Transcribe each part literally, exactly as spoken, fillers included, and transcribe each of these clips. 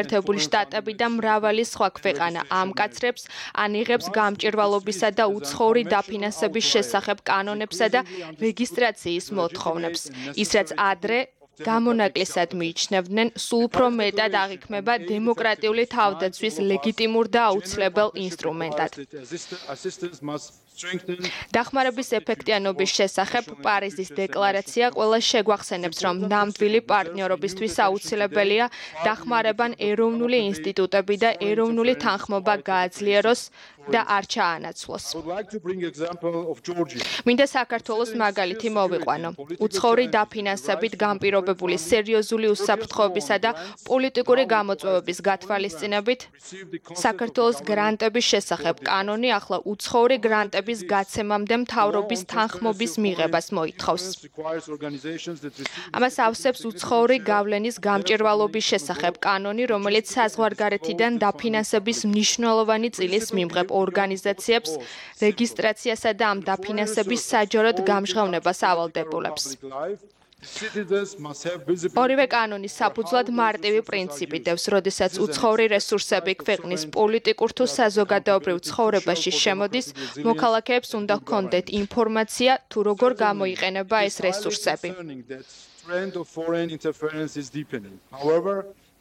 ერთებული შტატები და მრავალი სხვა ქვეყანა ამკაცრებს ან იღებს გამჭირვალობისა და უცხოური დაფინანსების შესახებ კანონებსა და რეგისტრაციის მოთხოვნებს. ის რაც ადრე გამონაკლისად მიიჩნევდნენ, სულ უფრო მეტად აღიქმება დემოკრატიული თავდაცვის ლეგიტიმურ და აუცილებელ ინსტრუმენტად. დახმარების ეფექტიანობის შესახებ პარიზის დეკლარაცია ყველა შეგვახსენებს, რომ ნამდვილი პარტნიორობისთვის აუცილებელია დახმარებან ეროვნული ინსტიტუტები და ეროვნული თანხმობა გააძლიეროს და არ ჩაანაცვლოს. მინდა საქართველოს მაგალითი მოვიყვანო. უცხოური დაფინანსებით განპირობებული სერიოზული უსაფრთხოებისა და პოლიტიკური გამოწვევების გათვალისწინებით საქართველოს გრანტების შესახებ კანონი ახლა უცხოური გრანტების გაცემამდე მთავრობის თანხმობის მიღებას მოითხოვს. ამას ავსებს უცხოური გავლენის გამჭირვალობის შესახებ კანონი, რომელიც საზღვარგარეთიდან დაფინანსების მნიშვნელოვანი წილის მიმღებ ორგანიზაციებს რეგისტრაციასა და ამ დაფინანსების საჯაროდ გამჟღავნებას ავალდებულებს. ორივე კანონის საფუძვლად მარტივი პრინციპი დევს, როდესაც უცხოური რესურსები ქვეყნის პოლიტიკურ თუ საზოგადოებრივ ცხოვრებაში შემოდის, მოქალაქეებს უნდა ჰქონდეთ ინფორმაცია, თუ როგორ გამოიყენება ეს რესურსები.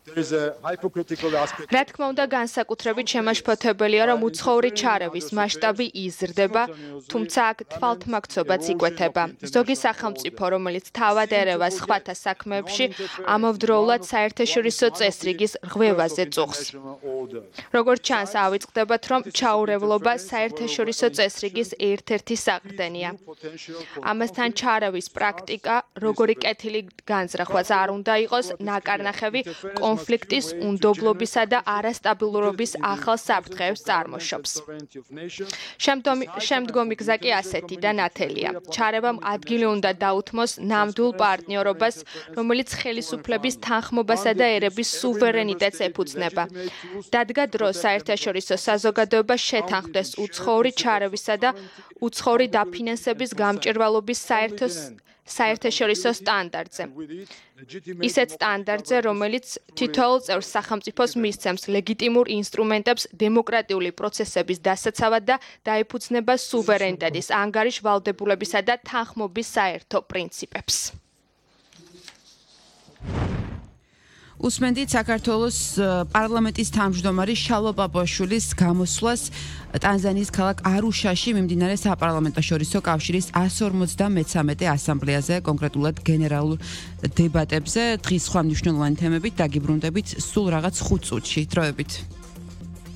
რა თქმა უნდა, განსაკუთრებით შემაშფოთებელია, რომ უცხოური ჩარევის მასშტაბი იზრდება, თუმცა აქ თვალთმაქცობაც იკვეთება. ზოგი სახელმწიფო, რომელიც თავად ერევა სხვათა საქმეებში, ამავდროულად საერთაშორისო წესრიგის რღვევაზე წუხს. როგორც ჩანს, ავიწყდებათ, რომ ჩაურევლობა საერთაშორისო წესრიგის ერთ-ერთი საყრდენია. ამასთან ჩარევის პრაქტიკა, როგორი კეთილი განზრახვაც არ უნდა იყოს, ნაკარნახევი კონფლიქტის, უნდობლობისა და არასტაბილურობის ახალ საფრთხეებს წარმოშობს. შემდგომი გზა კი ასეთი და ნათელია. ჩარევამ ადგილი უნდა დაუთმოს ნამდვილ პარტნიორობას, რომელიც ხელისუფლების თანხმობასა და ერების სუვერენიტეტს ეფუძნება. დადგა დრო საერთაშორისო საზოგადოება შეთანხმდეს უცხოური ჩარევისა და უცხოური დაფინანსების გამჭირვალობის საერთო საერთაშორისო სტანდარტზე. ისეთ სტანდარტზე, რომელიც თითოეულ წევრ სახელმწიფოს მისცემს ლეგიტიმურ ინსტრუმენტებს დემოკრატიული პროცესების დასაცავად და დაეფუძნება სუვერენიტეტის, ანგარიშ ვალდებულებისა და თანხმობის საერთო პრინციპებს. უსმენდით საქართველოს პარლამენტის თავმჯდომარე შალვა პაპუაშვილის გამოსვლას ტანზანიის ქალაქ არუშაში მიმდინარე საპარლამენტო შორისო კავშირის εκατს ორმოცდამეცამეტე ასამბლეაზე, კონკრეტულად გენერალურ დებატებზე. დღის სხვა მნიშვნელოვანი თემებით დაგიბრუნდებით სულ რაღაც ხუთ წუთში. დროებით.